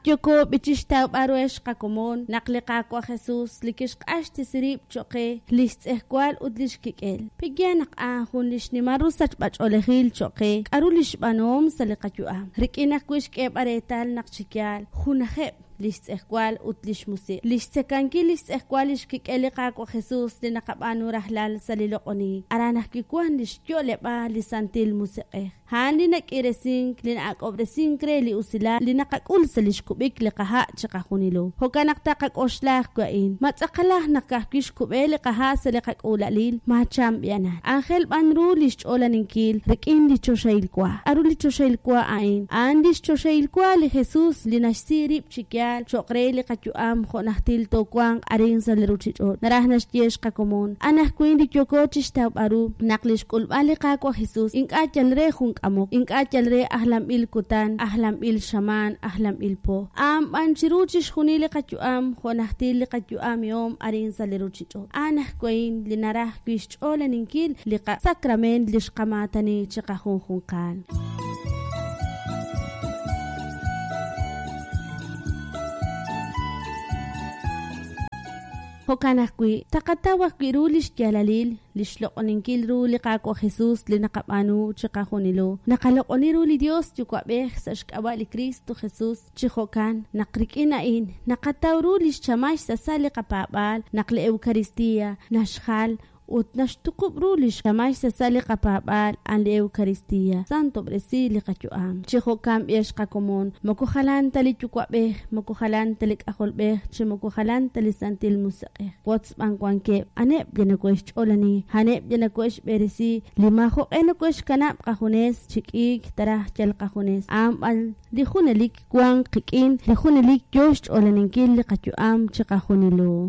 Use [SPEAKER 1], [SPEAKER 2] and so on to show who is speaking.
[SPEAKER 1] Naq yooko b'i chixtawb'al ruheb' xqakomon naq li Qaawa' Jesus li kixq'axtesi rib' cho'q qe li xtz'ejwal ut li xkik'el. Pe'yaal naq a'an jun li xnimal ru sachb'ach'oolejil cho'q qe k'aru li xb'aanuhom sa' li qayu'am, rik'in ajwi' xk'eeb'al reetal naq chi yaal junajeb' li xtz'ejwal ut li xmusiq'. Li xtzekankil li xtz'ejwal li xkik'el li Qaawa' Jesus li naqab'aanu rajlal sa' li loq'onink, aran ajwi' wank li xyo'leb'aal li Santil Musiq'ej. A'an li nak'iiresink, li na'ak'ob'resink re li usilal li naqak'ul sa' lix kub'ik li qaha' chiqajunilo. Jo'kan naq taqak'oxla ajwi' a'in, Ma tz'aqalaj naq ka'ajwi' xkub'e li qaha' sa' li qak'uula'alil? Maacham b'i'anan. Aajel b'an ru lix ch'oolaninkil rik'in li choxahil wa. K'a'ru li choxahil wa a'in? A'an lix choxahil wa li Jesus li naxsi rib' chi yaal choq' re li qayu'am jo' najtil toowanq arin sa' li ruchich'och'. Naraj naxye xqakomon, anajwan li yooko chixtawb'al ru naq li xk'ulb'al li Qaawa' Jesus ink'a' yal re jun k'amok, ink'a' yal re ajlanb'il kutan, ajlanb'il xamaan, ajlanb'il po. A'an b'an chiru chixjunil li qayu'am jo' najtil li qayu'amihom arin sa' li ruchich'och'. A'an ajwi' li naraj wi' xch'oolaninkil li qasakrament li xqamaatani chiqajunjunqal. Jo'kan ajwi', taqataw ajwi' ru lix yaalalil li xloq'oninkil ru li Qaawa' Jesus li naqab'aanu chiqajunilo. Naqaloq'oni ru li Dios Yuwa'b'ej sa' xk'ab'a' li Kristo Jesus, chi jo'kan naq rik'in a'in naqataw ru lix chamal xsasal li qapaab'aal naq li Eucaristia naxjal ut naxtuqub' ru li xchamal xsasal li qapaab'aal a'an li Eucaristia. Santob'resi li qayu'am. Chi jo'kan b'ex qakomon, moko jalan ta li Yuwa'b'ej, moko jalan ta li K'ajolb'ej, chi moko jalan ta li Santil Musiq'ej. Wotz b'an wankeb', a'aneb' li nokohe'xch'oolani, a'aneb' li nokohe'xb'eresi, li maajo'q'e nokohe'xkanab' qajunes chi k'iik taraj yal qajunes, a'an b'an li junelik wank qik'in, li junelik yoo xch'oolaninkil li qayu'am chiqajunilo.